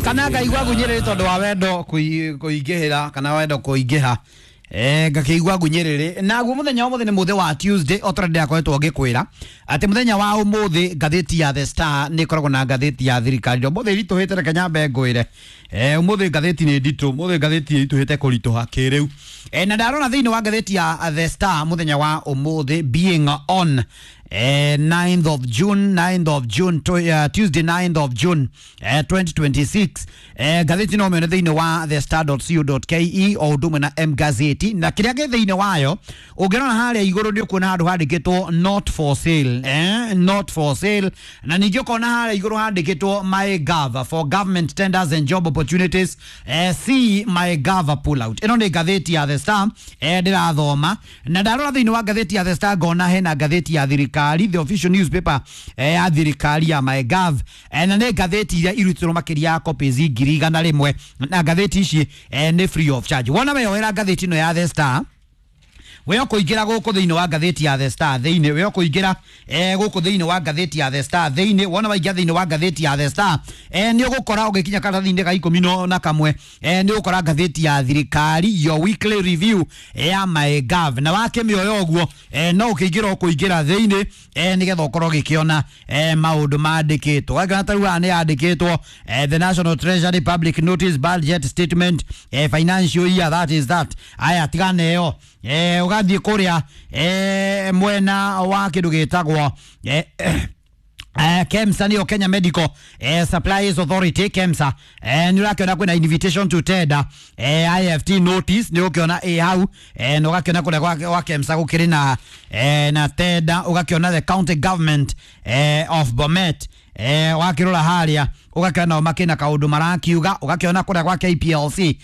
Kana ngaigua ngunyĩrĩrĩ tondũ wa wendo kũingĩhĩra kana wendo kũingĩha, ngakĩigua ngunyĩrĩrĩ. Naguo mũthenya wa ũmũthĩ nĩ mũthĩ wa Tuesday, o ta ũrĩa ndĩrakoretwo ngĩkwĩra atĩ mũthenya wa ũmũthĩ ngathĩti ya The Star nĩ ĩkoragwo na ngathĩti ya thirikari. Ũmũthĩ ĩritũhĩte, reke nyambe ngwĩre, ũmũthĩ ngathĩti nĩ nditũ, ũmũthĩ ngathĩti ĩritũhĩte kũritũha kĩrĩu. Na ndarora thĩinĩ wa ngathĩti ya The Star mũthenya wa ũmũthĩ, being on 9th of June, 9th of June, Tuesday 9th of June 2026, ngathĩti no mĩone thĩinĩ wa thestar.co.ke o ũndũ ũmwe na M Gazeti, na kĩrĩa gĩ thĩinĩ wayo ũngĩrora harĩa igũrũ nĩ ũkuona handũ handĩkĩtwo "Not for sale", "Not for sale", na ningĩ ũkona harĩa igũrũ handĩkĩtwo "My Gov for government tenders and job opportunities, see My Gov pull out". Ĩno nĩ ngathĩti ya The Star ndĩrathoma, na ndarora thĩinĩ wa ngathĩti ya The Star ngona hena ngathĩti ya thirikari, the official newspaper ya thirikari ya My Gov, na nĩ ngathĩti iria irutĩrwo makĩria ya copies 100,000, na ngathĩti ici nĩ free of charge. Wona weyoera ngathĩti ĩno ya The Star, we ũkũingĩra gũkũ thĩinĩ wa ngathĩti ya The Star thĩinĩ, we ũkũingĩra gũkũ thĩinĩ wa ngathĩti ya The Star thĩinĩ. Wona waingĩra thĩinĩ wa ngathĩti ya The Star, nĩ ũgũkora ũgĩkinya karatathi-inĩ ga 11, nĩ ũgũkora ngathĩti ya thirikari, your weekly review ya My Gov, na wakĩmĩoya ũguo, no ũkĩingĩra ũkũingĩra thĩinĩ, nĩgetha ũkorwo ũgĩkĩona maũndũ mandĩkĩtwo. Wangĩona ta rĩu haha nĩ yandĩkĩtwo the National Treasury public notice, budget statement, financial year, that is that. Aya, tigana ĩyo, ũgathiĩ kũrĩa mwena wa kĩndũ gĩtagwo KEMSA, nĩyo Kenya Medical Supplies Authority, KEMSA. Nĩ ũrakĩona kwĩna invitation to tender, IFT notice nĩ ũkĩona ĩ hau, na ũgakĩona kũrĩa gwa KEMSA gũkĩrĩ na tender. Ũgakĩona the county government of Bomet, wakĩrora harĩa ũgakĩona nao makĩna kaũndũ marakiuga. Ũgakĩona kũrĩa gwa KPLC,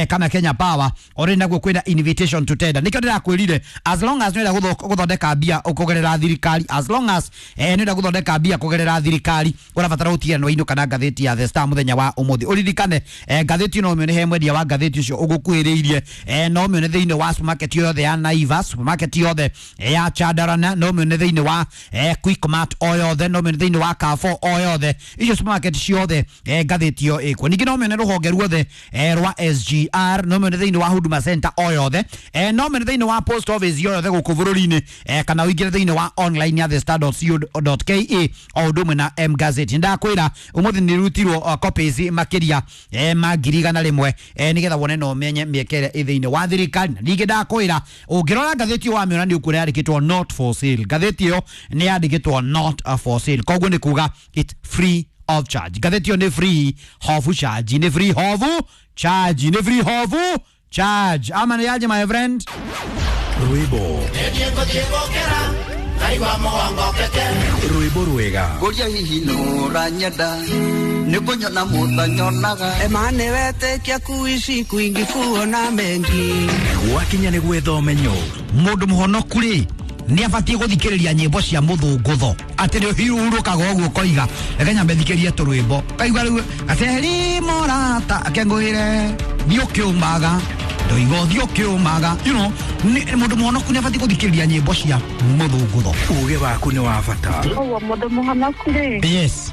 kana Kenya Power, already naguo kwĩna invitation to tender. Nĩkĩo ndĩrakwĩrire, as long as nĩũrenda gũthondeka mbia kũgerera thirikari, as long as nĩũrenda gũthondeka mbia kũgerera thirikari, ũrabatara gũtigĩrĩra nĩ wainũka na ngathĩti ya The Star mũthenya wa ũmũthĩ. Ũririkane, ngathĩti no ũmĩone he mwendia wa ngathĩti ũcio ũgũkuhĩrĩirie, no ũmĩone thĩinĩ wa supermarket yothe ya Naivas, supermarket yothe ya Chandarana, no ũmĩone thĩinĩ wa Quickmart o yothe, no ũmĩone thĩinĩ wa Carrefour o yothe, icio supermarket ciothe, ngathĩti ĩyo ĩkuo. Ningĩ no ũmĩone rũhonge ruothe rwa SGR, no ũmĩone thĩinĩ wa Huduma Center o yothe, no ũmĩone thĩinĩ wa post office yothe gũkũ bũrũri-inĩ, kana ũingĩre thĩinĩ wa online ya thestar.co.ke o ũndũ ũmwe na M Gazette. Ndakwĩra ũmũthĩ nĩ rutirwo copies makĩria ma 100,000, nĩgetha wone na ũmenye mĩeke ĩrĩa ĩ thĩinĩ wa thirikari. Na ningĩ ndakwĩra ũngĩrora ngathĩti ĩyo wamĩona nĩ ũkuona yandĩkĩtwo "Not for sale". Ngathĩti ĩyo nĩ yandĩkĩtwo "Not for sale", koguo nĩ kuga it's free of charge. Ngathĩti ĩyo nĩ free of charge, nĩ free of charge, nĩ free of charge. Ama nĩ yaje, my friend? Rwĩmbo rwĩmbo rwega. Ngũria hihi nũranyenda nĩ kũnyona mũtanyonaga. Emane wetĩkia kuishi kwingi kuona mengi. Gwakinya nĩ gwetha ũmenyo. Mũndũ mũhonoku rĩ, nĩ abatiĩ gũthikĩrĩria nyĩmbo cia mũthũngũtho, atĩ nĩ ũhurũkaga ũguo ũkoiga, "Reke nyambe thikĩrie tũrwĩmbo." Kaigua rĩu gaceri morata akengũĩre thiĩ ũkĩũmaga ndoiga ũthiĩ ũkĩũmaga, mũndũ mũhonoku nĩ abatiĩ gũthikĩrĩria nyĩmbo cia mũthũngũtho. Uge waku nĩ wa bata. Ũguo mũndũ mũhonoku rĩ,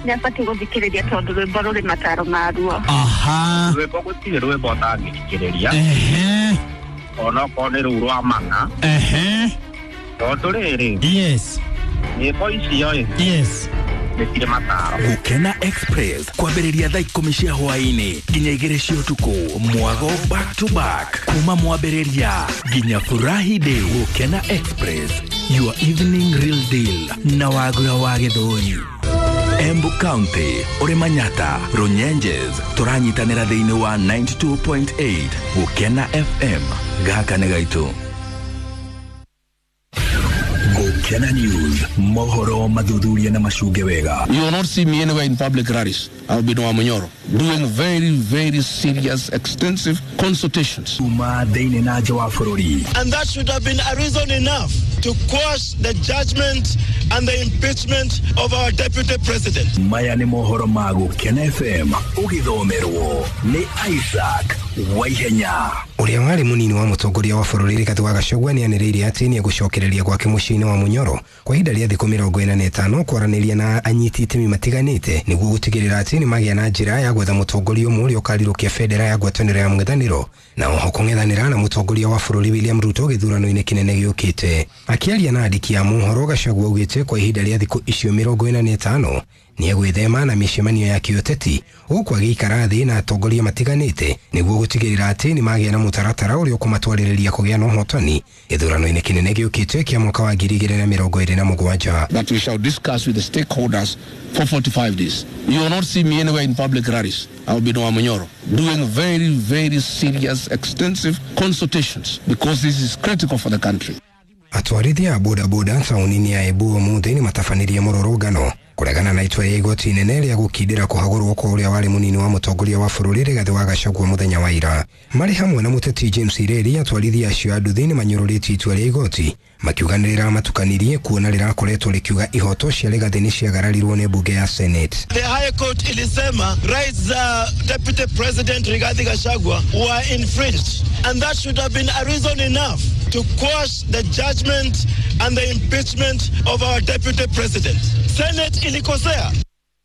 nĩ abatiĩ gũthikĩrĩria tondũ rwĩmbo rũrĩ mataro maruo. Rwĩmbo gũtirĩ rwĩmbo ũtangĩthikĩrĩria, onokorwo nĩ rũu rwa mana, tondũ rĩrĩ, nyĩmbo icio ĩ, nĩ cirĩ mataro. Gũkena Express kwambĩrĩria thaa 10 cia hwaĩ-inĩ nginya 2 cia ũtukũ, mwago back to back kuma mwambĩrĩria nginya furahi day. Gũkena Express, your evening real deal na Wagura wa Gĩthũri. Embu County, ũrĩ Manyata, Runyenjes, tũranyitanĩra thĩinĩ wa 92.8 Gũkena FM. Gaka nĩ gaitũ. Gũkena News, mohoro mathuthuria na macunge wega. You will not see me anywhere in public rallies. I'll be in Wamunyoro doing very, very serious, extensive consultations. Kuma thĩinĩ na nja wa bũrũri. And that should have been a reason enough to quash the judgment and the impeachment of our deputy president. Maya nĩ mohoro ma Gũkena FM, ũgĩthomerwo nĩ Isaac Waihenya. Ũrĩa warĩ mũnini wa mũtongoria wa bũrũri Rigathĩ wa Gachagua nĩanĩrĩire atĩ nĩegũcokereria gwake mũciĩ-inĩ wa Munyoro kwa ihinda rĩa thikũ 45 kwaranĩria na anyiti itemi matiganĩte nĩguo gũtigĩrĩra atĩ nĩmagĩa na njĩra ya gwetha mũtongoria ũmwe ũrĩa ũkarirũkia bendera ya ngwatanĩro ya mũng'ethanĩro na oho kũng'ethanĩra na mũtongoria wa bũrũri William Ruto gĩthurano-inĩ kĩnene gĩũkĩte. Akĩaria na andĩki a mohoro, Gachagua augĩte kwa ihinda rĩa thikũ icio 45 nĩegwĩthema na mĩcemanio ya kĩũteti gũkũ agĩikara thĩ na atongoria matiganĩte nĩguo gũtigĩrĩra atĩ nĩmagĩa na mũtaratara ũrĩa ũkũmatwarĩrĩria kũgĩa na ũhotani gĩthurano-inĩ kĩnene gĩũkĩte kĩa mwaka wa 2027. That we shall discuss with the stakeholders for 45 days. You will not see me anywhere in public rallies. I will be in Wamunyoro doing very, very serious, extensive consultations because this is critical for the country. Atwarithia a bodaboda taũni-inĩ ya Embu ũmũthĩ nĩmatabanirie mũrũrũngano kũregana na itua rĩa igoti inene rĩa gũkindĩra kũhagũrwo kwa ũrĩa warĩ mũnini wa mũtongoria wa bũrũri Rigathĩ wa Gachagua mũthenya wa ira. Marĩ hamwe na mũteti James Ireri, atwarithia acio a nduthi nĩmanyũrũrĩtie itua rĩa igoti makiuga nĩrĩramatukanirie kuona rĩrakoretwo rĩkiuga ihoto cia Rigathĩ nĩciagararirwo nĩ mbunge ya Senate. The High Court ilisema rights za Deputy President Rigathi Gachagua were infringed, and that should have been a reason enough to quash the judgment and the impeachment of our Deputy President. Senate ilikosea.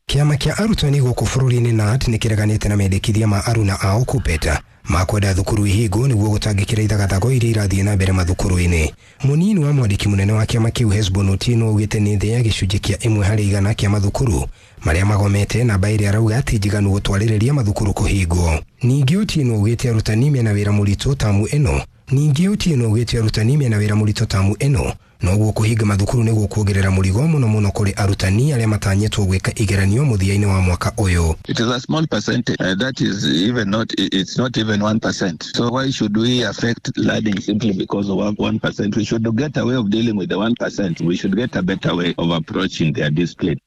Kĩama kĩa arutani gũkũ bũrũri-inĩ KNUT nĩkĩreganĩte na mendekithia ma aruna ao KUPPET ma kwenda thukuru ihingwo nĩguo gũtangĩkĩra ithagathago iria irathiĩ na mbere mathukuru-inĩ. Mũnini wa mwandĩki mũnene wa kĩama kĩu Hesbon Otieno augĩte nĩ thĩ ya gĩcunjĩ kĩa 1 harĩ 100 kĩa mathukuru marĩa magomete, namba ĩrĩa arauga ti njiganu gũtwarĩrĩria mathukuru kũhingwo. Ningĩ Otieno augĩte arutani mena wĩra mũritũ tamu ĩno. Ningĩ Otieno augĩte arutani mena wĩra mũritũ tamu ĩno, noguo kũhinga mathukuru nĩguo kuongerera mũrigo mũno mũno kũrĩ arutani arĩa matanyĩtwo gwĩka igeranio mũthia-inĩ wa mwaka ũyũ. It is a small percentage. That is even not, it's not even 1%. So why should we affect learning simply because of 1%? We should get a way of dealing with the 1%. We should get a better way of approaching their discipline.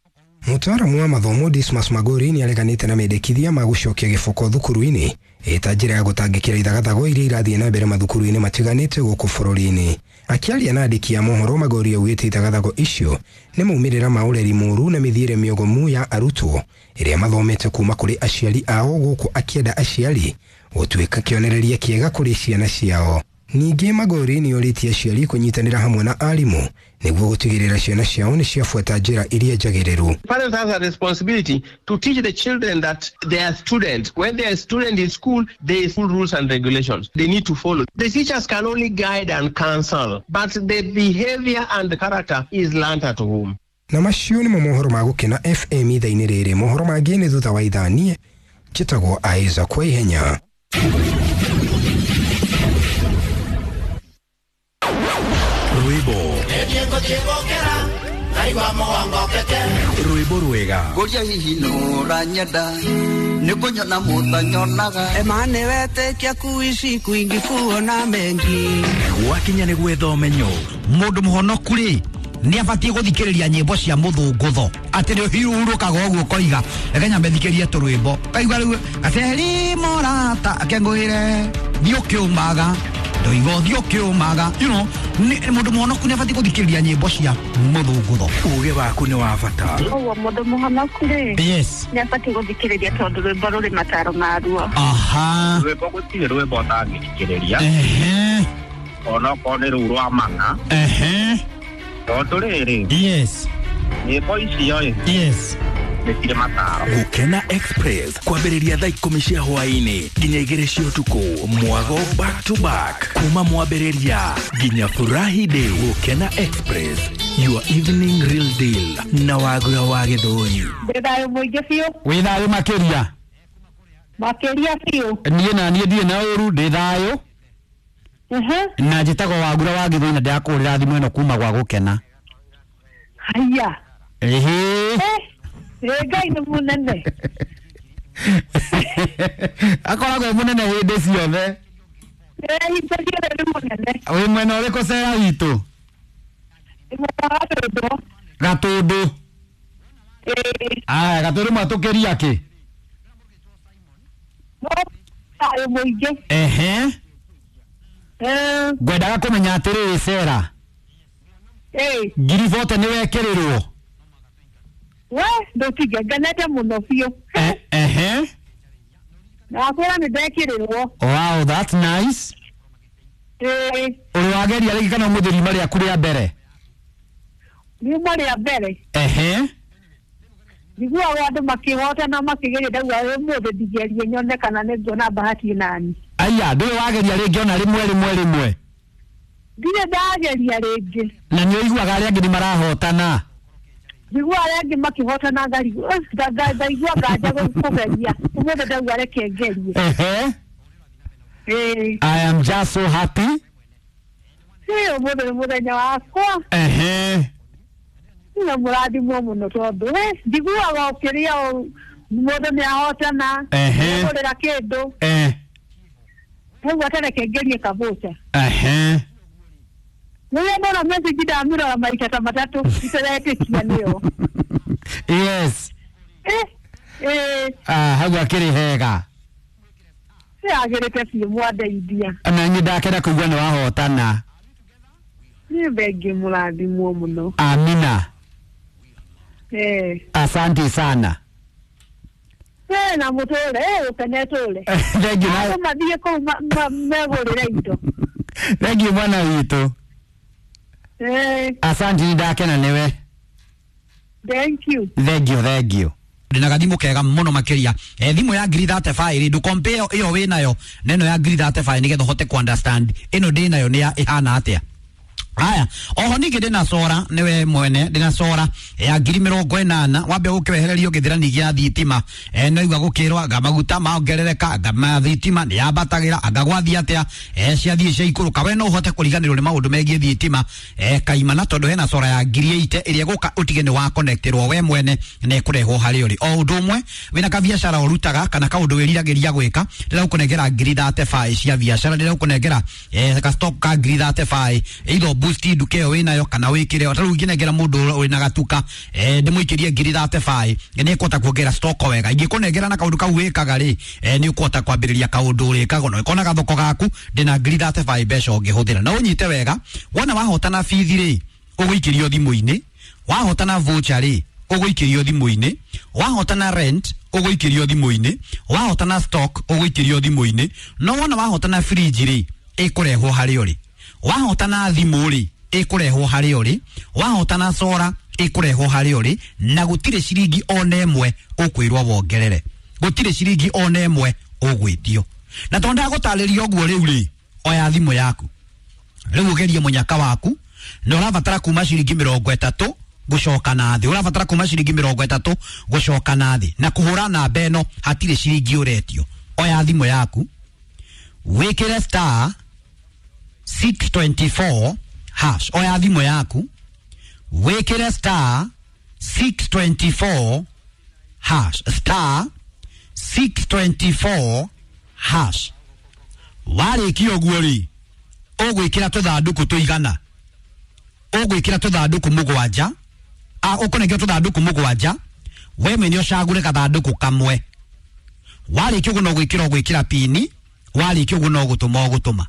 Mũtaaramu wa mathomo Dismas Magori nĩareganĩte na mendekithia ma gũcokia gĩboko thukuru-inĩ ĩta njĩra ya gũtangĩkĩra ithagathago iria irathiĩ na mbere mathukuru-inĩ matiganĩte gũkũ bũrũri-inĩ. Akĩaria na andĩki a mohoro, Magori augĩte ithagathago icio nĩ maumĩrĩra ma ũreri mũũru na mĩthiĩre mĩogomu ya arutwo ĩrĩa mathomete kuma kũrĩ aciari ao, gũkũ akĩenda aciari gũtuĩka kĩonereria kĩega kũrĩ ciana ciao. Ningĩ Magori nĩ orĩtie aciari kũnyitanĩra hamwe na arimũ nĩguo gũtigĩrĩra ciana ciao nĩ ciabuata njĩra iria njagĩrĩru. Parents have a responsibility to teach the children that they are students. When they are students in school, there is school rules and regulations they need to follow. The teachers can only guide and counsel, but the behavior and the character is learned at home. Na macio nĩmo mohoro ma Gũkena FM ithaa-inĩ rĩrĩ. Mohoro mangĩ nĩ thutha wa ithaa. Niĩ njĩtagwo Isaac kwa ihenya. Rwĩmbo rwĩmbo rwega. Ngũria hihi nũranyenda nĩ kũnyona mũtanyonaga. Emane wetĩkia kuishi kwingi kuona mengi. Gwakinya nĩ gwetha ũmenyo. Mũndũ mũhonoku rĩ nĩ abatiĩ gũthikĩrĩria nyĩmbo cia mũthũngũtho atĩ nĩ ũhurũkaga ũguo ũkoiga reke nyambe thikĩrie tũrwĩmbo kaigua rĩu gaceri mũrata akengũĩre thiĩ ũkĩũmaga ndoiga ũthiĩ ũkĩũmaga, mũndũ mũhonoku nĩ abatiĩ gũthikĩrĩria nyĩmbo cia mũthũngũtho. Uge waku nĩ wa bata. Ũguo mũndũ mũhonoku rĩ, yes, nĩ abatiĩ gũthikĩrĩria tondũ rwĩmbo rũrĩ mataro maruo. Aha. Rwĩmbo gũtirĩ rwĩmbo ũtangĩthikĩrĩria. Onokorwo nĩ rũu rwa mana. Tondũ rĩrĩ, yes, nyĩmbo icio ĩ, yes, nĩ cirĩ mataro. Gũkena Express kwambĩrĩria thaa 10 cia hwaĩ-inĩ nginya 2 cia ũtukũ. Mwago back to back kuma mwambĩrĩria nginya furahi day. Gũkena Express, your evening real deal na Wagura wa Gĩthũri. Ndĩ thayũ mũingĩ biũ. Wĩ thayũ makĩria. Makĩria biũ. Niĩ na niĩ ndirĩ na ũru, ndĩ thayũ. Na njĩtagwo Wagura wa Gĩthũri na ndĩrakũhũrĩra thimũ ĩno kuma gwa Gũkena. Haya. Ĩhĩ. Ngai nĩ mũnene. Akoragwo e mũnene hĩndĩ ciothe. Hingo ciothe nĩ mũnene. Wĩ mwena ũrĩkũ cera witũ? Nĩ mwena wa Gatũndũ. Gatũndũ. Ĩĩ. Aya, Gatũndũ mwatũkĩria kĩ? No thayũ mũingĩ. Ehe. Ngwendaga kũmenya atĩrĩrĩ cera. Ĩĩ. 40,000 nĩ wekĩrĩrwo? We ndũtige, ngenete mũno biũ. Ehe. Nakwĩra nĩ ndekĩrĩrwo. Wow, that's nice. Uri wageria rĩngĩ kana ũmũthĩ riuma rĩaku rĩa mbere? Riuma rĩa mbere. Ehe. Njiguaga andũ makĩhotana makĩgeria, ndauga ũmũthĩ ndigerie nyone kana nĩnguona bahati nani. Aya, ndũrĩ wageria rĩngĩ ona rĩmwe rĩmwe rĩmwe? Ndirĩ ndageria rĩngĩ. Na nĩ ũiguaga arĩa angĩ nĩ marahotana? Njiguaga arĩa angĩ makĩhotana ngaigua nganja kũgeria. Ũmũthĩ ndauga reke ngerie. Ehe. I am just so happy. Ũmũthĩ nĩ mũthenya wakwa. Ehe. Na mũrathimwo mũno tondũ njiguaga ũkĩrĩa mũndũ nĩ ahotana. Ehe. Nĩagũrĩra kĩndũ. Rĩu atareke ngerie kabũca. Ehe. Rĩrĩa ndona message ndamĩrora maita ta matatũ itaretĩkia nĩyo. Yes. Hau akĩrĩ hega. Yagĩrĩte biũ mwandeithia. Na niĩ ndakena kũigua nĩ wahotana. Nĩ thengiũ mũrathimwo mũno. Amina. Asante sana. Na mũtũre, ũkene tũre. Thengiũ na Andũ mathiĩ kũu megũrĩre indo. Thengiũ mwana witũ. Asante, nĩ ndakena nĩwe. Thank you. Thengiũ, thengiũ. Ndina gathimũ kega mũno makĩria. Thimũ ya ngiri 35 rĩ, ndũkompare ĩyo wĩnayo na ĩno ya ngiri 35 nĩgetha ũhote ku understand ĩno ndĩnayo nĩ ĩhana atĩa. Haya, oho ningĩ ndĩna sora nĩwe mwene, ndĩna sora ya ngiri 80 wambe gũkĩwehererio gĩthirani gĩa thitima. No igua gũkĩrwo anga maguta maongerereka, anga ma thitima nĩ yambatagĩra, anga gwathiĩ atĩa, ciathiĩ ciaikũrũka. We no ũhote kũriganĩrwo nĩ maũndũ megiĩ thitima kaimana, tondũ hena sora ya ngiri 80 ĩrĩa ĩgũka ũtige nĩ wa connectĩrwo we mwene na ĩkũrehwo harĩ ũrĩ. O ũndũ ũmwe wĩna kabiacara ũrutaga kana kaũndũ wĩriragĩria gwĩka, ndĩragũkũnengera ngiri 35 cia biacara, ndĩragũkũnengera ka stock ka ngiri 35 either boost nduka ĩyo wĩnayo kana wĩkĩre. Ta rĩu ingĩnengera mũndũ wĩna gatuka ndĩmũikĩrie ngiri 35 nĩ ĩkũhota kuongerera stock wega. Ingĩkũnengera na kaũndũ kau wĩkaga rĩ, nĩ ũkũhota kwambĩrĩria kaũndũ ũrĩkaga na ũkona gathoko gaku. Ndĩna ngiri 35 mbeca ũngĩhũthĩra. Na ũnyite wega, wona wahotana bithi rĩ, ũgũikĩrio thimũ-inĩ, wahotana voucher rĩ, ũgũikĩrio thimũ-inĩ, wahotana rent ũgũikĩrio thimũ-inĩ, wahotana stock ũgũikĩrio thimũ-inĩ, no wona wahotana fridge rĩ, ĩkũrehwo harĩ ũrĩ. Wahotana thimũ rĩ, ĩkũrehwo harĩ ũrĩ, wahotana sora ĩkũrehwo harĩ ũrĩ, na gũtirĩ ciringi ona ĩmwe ũkwĩrwo wongerere, gũtirĩ ciringi ona ĩmwe ũgwĩtio. Na tondũ ndagũtarĩria ũguo rĩu rĩ, oya thimũ yaku rĩu ũgerie mũnyaka waku, na ũrabatara kuma ciringi 30 gũcoka na thĩ, ũrabatara kuma ciringi 30 gũcoka na thĩ, na kũhũra namba ĩno hatirĩ ciringi ũretio. Oya thimũ yaku wĩkĩre star 624 hash. Oya thimũ yaku wĩkĩre star 624 hash, star 624 hash. Warĩkia ũguo rĩ, ũgwĩkĩra tũthandũkũ tũigana, ũgwĩkĩra tũthandũkũ mũgwanja, ũkũnengera tũthandũkũ mũgwanja, we mwene ũcagũre gathandũkũ kamwe. Warĩkia ũguo no gwĩkĩra ũgwĩkĩra pini, warĩkia ũguo no gũtũma ũgũtũma.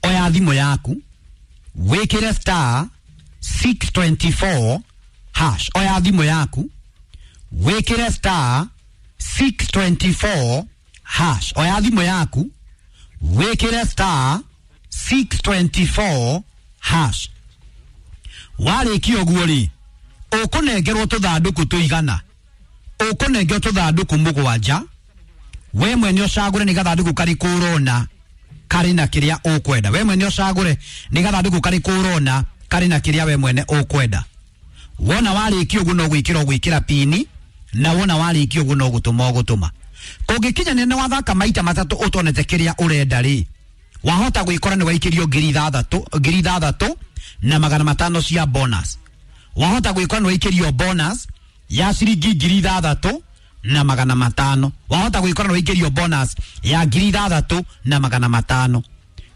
Oya thimũ yaku wĩkĩre star 624 hash. Oya thimũ yaku wĩkĩre star 624 hash. Oya thimũ yaku wĩkĩre star 624 hash. Warĩkia ũguo rĩ, ũkũnengerwo tũthandũkũ tũigana, ũkũnengerwo tũthandũkũ mũgwanja, we mwene ũcagũre nĩ gathandũkũ karĩkũ ũrona karĩ na kĩrĩa ũkwenda. We mwene ũcagũre nĩ gathandũkũ karĩkũ ũrona karĩ na kĩrĩa we mwene ũkwenda. Wona warĩkia ũguo no gwĩkĩra ũgwĩkĩra pini, na wona warĩkia ũguo no gũtũma ũgũtũma. Kũngĩkinya nĩ wathaka maita matatũ ũtonete kĩrĩa ũrenda rĩ, wahota gwĩkora nĩ waikĩrio ngiri 6,500 cia bonus. Wahota gwĩkora nĩ waikĩrio bonus ya ciringi 6,500. Wahota gwĩkora nĩ waikĩrio bonus ya 6,500.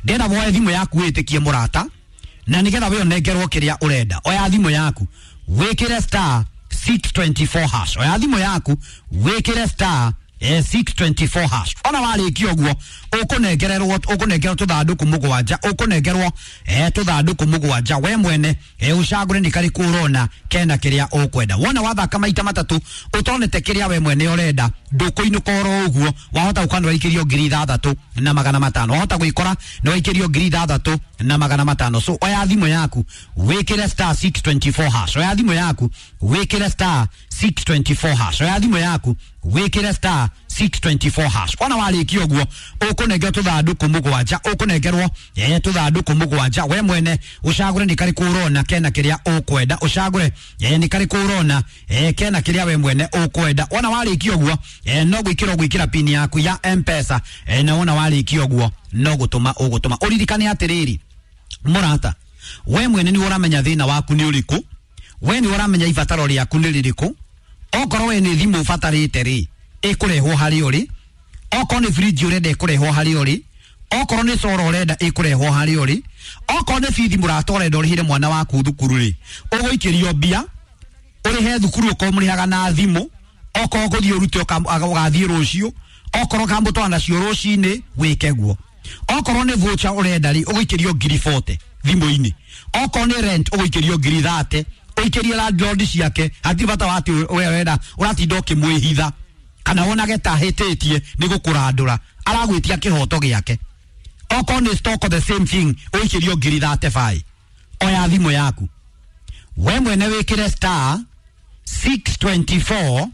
Ndĩrenda woe thimũ yaku wĩtĩkie mũrata, na nĩgetha we ũnengerwo kĩrĩa ũrenda. Oya thimũ yaku wĩkĩre star 624 hash. Oya thimũ yaku wĩkĩre star 624 hash. Ona warĩkia ũguo ũkũnengererwo, ũkũnengerwo tũthandũkũ mũgwanja, ũkũnengerwo tũthandũkũ mũgwanja. We mwene ũcagũre nĩ karĩkũ ũrona kena kĩrĩa ũkwenda. Wona wathaka maita matatũ ũtonete kĩrĩa we mwene ũrenda, ndũkũinũka oro ũguo. Wahota gũka nĩ waikĩrio 6500, wahota gwĩkora nĩ waikĩrio 6500. So oya thimũ yaku wĩkĩre star 624 hash. Oya thimũ yaku wĩkĩre star 624 hash. Oya thimũ yaku wĩkĩre star 624 hash. Ona warĩkia ũguo ũkũnengerwo tũthandũkũ mũgwanja, ũkũnengerwo tũthandũkũ mũgwanja. We mwene ũcagũre nĩ karĩkũ ũrona kena kĩrĩa ũkwenda, ũcagũre nĩ karĩkũ ũrona kena kĩrĩa we mwene ũkwenda. Ona warĩkia ũguo no gwĩkĩra ũgwĩkĩra pin yaku ya M-Pesa, na wona warĩkia ũguo no gũtũma ũgũtũma. Ũririkane atĩrĩrĩ mũrata, we mwene nĩ ũramenya thĩna waku nĩ ũrĩkũ, we nĩ ũramenya ibataro rĩaku nĩ rĩrĩkũ. Okorwo we nĩ thimũ ũbatarĩte rĩ, ĩkũrehwo harĩ ũrĩ. Okorwo nĩ fridge ũrenda ĩkũrehwo harĩ ũrĩ. Okorwo nĩ coro ũrenda ĩkũrehwo harĩ ũrĩ. Okorwo nĩ bithi mũrata ũrenda ũrĩhĩre mwana waku thukuru rĩ, ũgũikĩrio mbia ũrĩhe thukuru okorwo mũrĩhaga na thimũ. Okorwo ũgũthiĩ ũrute ũgathiĩ rũciũ, okorwo ũkamũtwara nacio rũcinĩ wĩke guo. Okorwo nĩ voucher ũrenda rĩ, ũgũikĩrio 40,000 thimũ-inĩ. Okorwo nĩ rent ũgũikĩrio 30,000, ũikĩrie landlord ciake. Hatirĩ bata wa atĩ we ũrenda ũratinda ũkĩmwĩhitha kana wonage ta hĩtĩtie nĩ gũkũrandũra, aragwĩtia kĩhoto gĩake. Okorwo nĩ stock the same thing, ũikĩrio 35,000. Oya thimũ yaku we mwene wĩkĩre star 624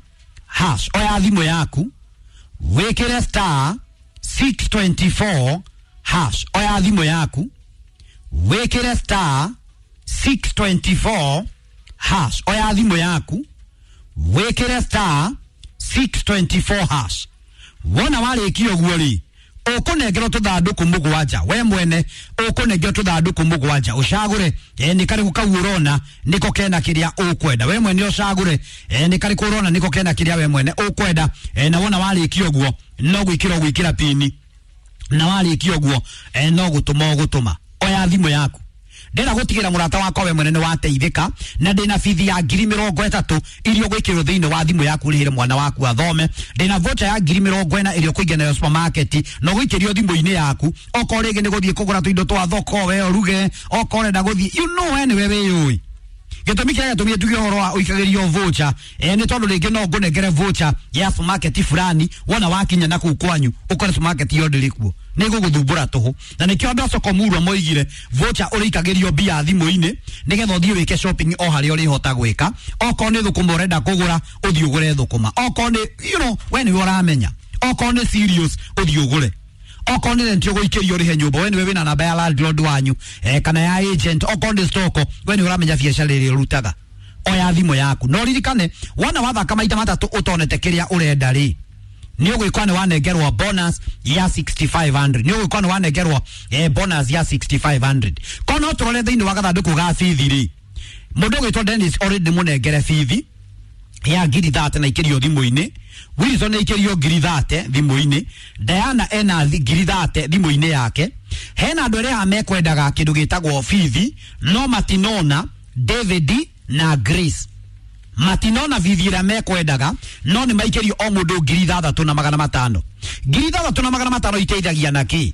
hash. Oya thimũ yaku wĩkĩre star 624 hash. Oya thimũ yaku wĩkĩre star 624 hash. Oya thimũ yaku wĩkĩre star 624 hash. Wona warĩkia ũguo rĩ, ũkũnengerwo tũthandũkũ mũgwanja. We mwene ũkũnengerwo tũthandũkũ mũgwanja, ũcagũre nĩ karĩkũ kau ũrona nĩko kena kĩrĩa ũkwenda. We mwene ũcagũre nĩ karĩkũ ũrona nĩko kena kĩrĩa we mwene ũkwenda. Na wona warĩkia ũguo no gwĩkĩra ũgwĩkĩra pini, na warĩkia ũguo no gũtũma ũgũtũma. Oya thimũ yaku, ndĩrenda gũtigĩra mũrata wakwa we mwene nĩ wateithĩka, na ndĩna bithi ya 30,000 iria ũgwĩkĩrwo thĩinĩ wa thimũ yaku ũrĩhĩre mwana waku athome. Ndĩna voucher ya 40,000 ĩrĩa ũkũingĩra nayo supermarket na ũgũikĩrio thimũ-inĩ yaku. Okorwo rĩngĩ nĩ gũthiĩ kũgũra tũindo twa thoko we ũruge, okorwo ũrenda gũthiĩ, you know we nĩwe wĩyũĩ. Gĩtũmi kĩrĩa gĩatũmire tuge ũhoro wa ũikagĩrio voucher nĩ tondũ rĩngĩ no ngũnengere voucher ya supermarket fulani, wona wakinya na kũu kwanyu ũkore supermarket iyo ndĩrĩ kuo, nĩ gũgũthumbũra tũhũ. Na nĩkĩo andũ a Soko-Murwa moigire voucher ũrĩikagĩrio mbia thimũ-inĩ nĩgetha ũthiĩ wĩke shopping o harĩa ũrĩhota gwĩka. Okorwo nĩ thũkũma ũrenda kũgũra, ũthiĩ ũgũre thũkũma. Okorwo nĩ you know, we nĩwe ũramenya. Okorwo nĩ cereals, ũthiĩ ũgũre. Okorwo nĩ rent ũgũikĩrio ũrĩhe nyũmba, we nĩwe wĩna namba ya landlord wanyu kana ya agent. Okorwo nĩ stock, we nĩwe ũramenya biacara ĩrĩa ũrutaga. Oya thimũ yaku na ũririkane, wona wathaka maita matatũ ũtonete kĩrĩa ũrenda rĩ, nĩ ũgwĩkwa nĩ wanengerwo bonus ya 6500. Nĩ ũgwĩkwa nĩ wanengerwo bonus ya 6500. Kono no tũrore thĩinĩ wa gathandũkũ ga bithi rĩ, mũndũ ũgwĩtwo Dennis already mũnengere bithi ya 30,000 na ikĩrio thimũ-inĩ. Wilson ikĩrio 30,000 thimũ-inĩ. Diana ena 30,000 thimũ-inĩ yake. Hena andũ arĩa mekwendaga kĩndũ gĩtagwo bithi no matinona. David na Grace matinona bithi ĩrĩa mekwendaga, no nĩ maikĩrio o mũndũ 6,500. 6,500 iteithagia na kĩ?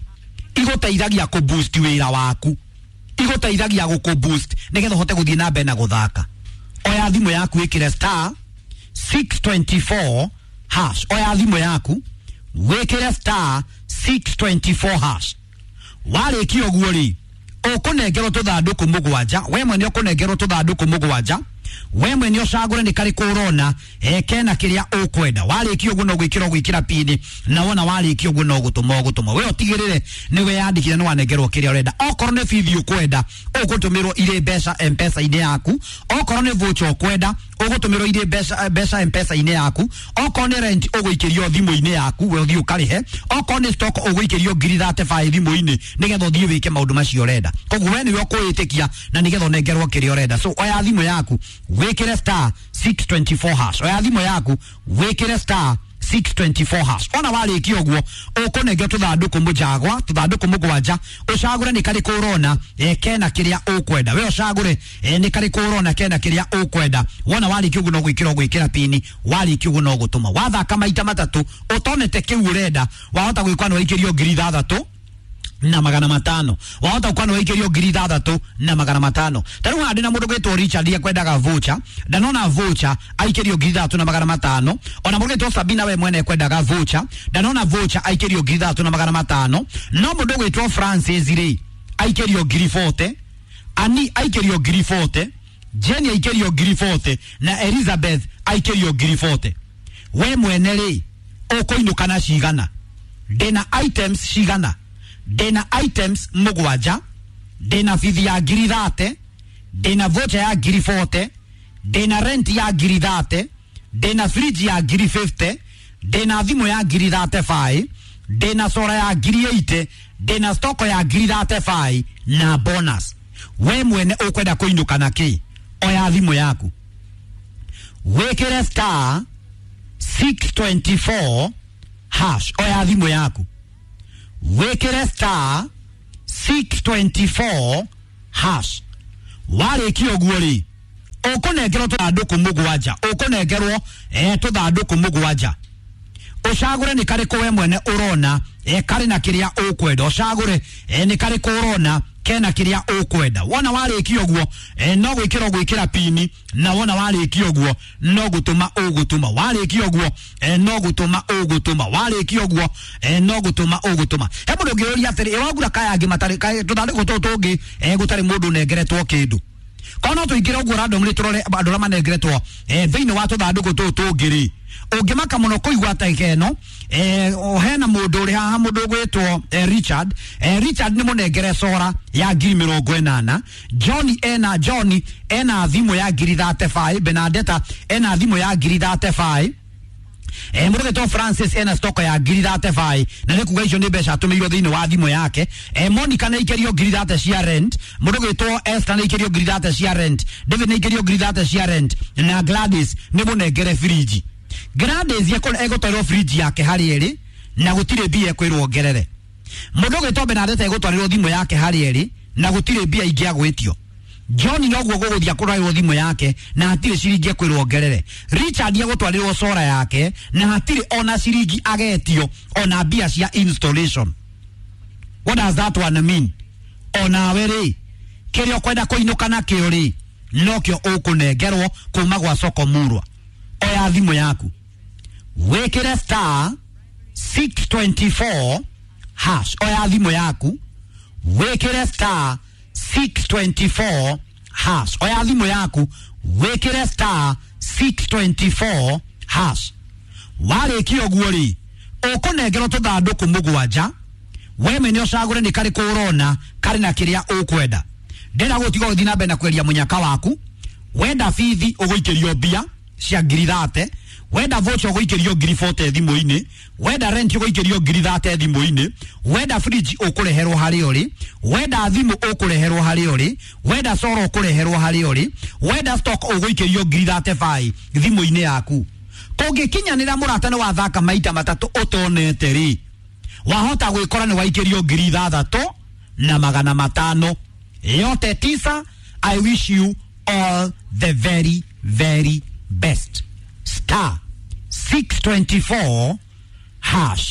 Igũteithagia kũ boost wĩra waku, igũteithagia gũkũ boost nĩgetha ũhote gũthiĩ na mbere na gũthaka. Oya thimũ yaku ĩkĩre star 624 hash. Oya thimũ yaku wĩkĩre star 624 hash. Warĩkia ũguo rĩ, ũkũnengerwo tũthandũkũ mũgwanja. We mwene ũkũnengerwo tũthandũkũ mũgwanja. We mwene ũcagũre nĩ karĩkũ ũrona kena kĩrĩa ũkwenda. Warĩkia ũguo no gwĩkĩra ũgwĩkĩra pini, na wona warĩkia ũguo no gũtũma ũgũtũma. We ũtigĩrĩre nĩ weyandĩkire nĩ wanengerwo kĩrĩa ũrenda. Okorwo nĩ bithi ũkwenda, ũgũtũmĩrwo irĩ mbeca M-Pesa-inĩ yaku. Okorwo nĩ voucher ũkwenda, ũgũtũmĩrwo irĩ mbeca M-Pesa-inĩ yaku. Okorwo nĩ rent ũgũikĩrio thimũ-inĩ yaku, we ũthiĩ ũkarĩhe. Okorwo nĩ stock ũgũikĩrio 35,000 thimũ-inĩ nĩgetha ũthiĩ wĩke maũndũ macio ũrenda. Koguo we nĩwe ũkwĩĩtĩkia na nĩgetha ũnengerwo kĩrĩa ũrenda. So oya thimũ yaku wĩkĩre star 624 hash. Oya thimũ yaku wĩkĩre star 624 hash. Ona warĩkia ũguo ũkũnengera tũthandũkũ mũjagwa, tũthandũkũ mũgwanja, ũcagũre nĩ karĩkũ ũrona kena kĩrĩa ũkwenda. We ũcagũre nĩ karĩkũ ũrona kena kĩrĩa ũkwenda. Wona warĩkia ũguo no gwĩkĩra ũgwĩkĩra pini, warĩkia ũguo no gũtũma. Wathaka maita matatũ ũtonete kĩu ũrenda, wahota gwĩkwa nĩ waikĩrio 6,500. Wahota gũkwa nĩ waikĩrio 6,500. Ta rĩu haha ndĩna mũndũ gwĩtwo Richard ekwendaga voucher, ndanona voucher aikĩrio 6,500. Ona mũndũ gwĩtwo Sabina we mwene ekwendaga voucher, ndanona voucher aikĩrio 6,500. No mũndũ gwĩtwo Francis rĩ aikĩrio 40,000, Ani aikĩrio 40,000, Jenny aikĩrio 40,000 na Elizabeth aikĩrio 40,000. We mwene rĩ ũkũinũka na cigana? Ndĩna items cigana? Ndĩna items mũgwanja, ndĩna bithi ya 30,000, ndĩna voucher ya 40,000, ndĩna rent ya 30,000, ndĩna fridge ya 50,000, ndĩna thimũ ya 35,000, ndĩna sora ya 80,000, ndĩna stock ya 35,000 na bonus. We mwene ũkwenda kũinũka na kĩ? Oya thimũ yaku wĩkĩre star 624 hash. Oya thimũ yaku wĩkĩre star 624 hash. Warĩkia ũguo rĩ ũkũnengerwo tũthandũkũ mũgwanja, ũkũnengerwo tũthandũkũ mũgwanja. Ũcagũre nĩ karĩkũ we mwene ũrona karĩ na kĩrĩa ũkwenda. Ũcagũre nĩ karĩkũ ũrona kena kĩrĩa ũkwenda. Wona warĩkia ũguo no gwĩkĩra ũgwĩkĩra pini, na wona warĩkia ũguo no gũtũma ũgũtũma. Warĩkia ũguo no gũtũma ũgũtũma. Warĩkia ũguo no gũtũma ũgũtũma. He mũndũ ũngĩũria atĩrĩ, ĩ wagura kaya angĩ matarĩ tũthandũkũ tũtũ tũngĩ gũtarĩ mũndũ ũnengeretwo kĩndũ? Korwo no tũingĩre ũguo randomly tũrore andũ arĩa manengeretwo thĩinĩ wa tũthandũkũ tũtũ tũngĩ rĩ, ũngĩmaka mũno kũigua ta ĩno hena mũndũ ũrĩ haha, mũndũ ũgwĩtwo Richard. Richard nĩ mũnengere sora ya 80,000. Johnny ena thimũ ya 35,000. Benadetta ena thimũ ya 35,000. Mũndũ ũgwĩtwo Francis ena stock ya 35,000, na nĩ kuga icio nĩ mbeca atũmĩirwo thĩinĩ wa thimũ yake. Monica nĩ aikĩrio 30,000 cia rent. Mũndũ ũgwĩtwo Esther nĩ aikĩrio 30,000 cia rent. David nĩ aikĩrio 30,000 cia rent, na Gladys nĩ mũnengere fridge. Gladys egũtwarĩrwo fridge yake harĩ ĩrĩ na gũtirĩ mbia ekwĩrwo ongerere. Mũndũ ũgwĩtwo Benadetta egũtwarĩrwo thimũ yake harĩ ĩrĩ na gũtirĩ mbia ingĩ agwĩtio. John noguo gũgũthiĩ kũrwaĩrwo thimũ yake na hatirĩ ciringi ekwĩrwo ongerere. Richard egũtwarĩrwo sora yake na hatirĩ ona ciringi agetio ona mbia cia installation. What does that one mean? Onawe rĩ kĩrĩa ũkwenda kũinũka nakĩo rĩ nokĩo ũkũnengerwo kuma gwa Soko Murwa. Oya thimũ yaku wĩkĩre star 624 hash. Oya thimũ yaku wĩkĩre star 624 hash. Oya thimũ yaku wĩkĩre star 624 hash. Warĩkia ũguo rĩ ũkũnengerwo tũthandũkũ mũgwanja. We mwene ũcagũre nĩ karĩkũ ũrona karĩ na kĩrĩa ũkwenda. Ndĩrenda gũtiga ũgĩthiĩ na mbere na kweria mũnyaka waku. Wenda bithi ũgũikĩrio mbia cia 30,000, wenda voucher ũgũikĩrio 40,000 thimũ-inĩ, wenda rent ũgũikĩrio 30,000 thimũ-inĩ, wenda fridge ũkũreherwo harĩa ũrĩ, wenda thimũ ũkũreherwo harĩa ũrĩ, wenda soro ũkũreherwo harĩa ũrĩ, wenda stock ũgũikĩrio 35,000 thimũ-inĩ yaku. Kũngĩkinyanĩra mũrata nĩ wathaka maita matatũ ũtonete rĩ, wahota gwĩkora nĩ waikĩrio 6,500. Yote tisa. I wish you all the very very best. Star 624 hash.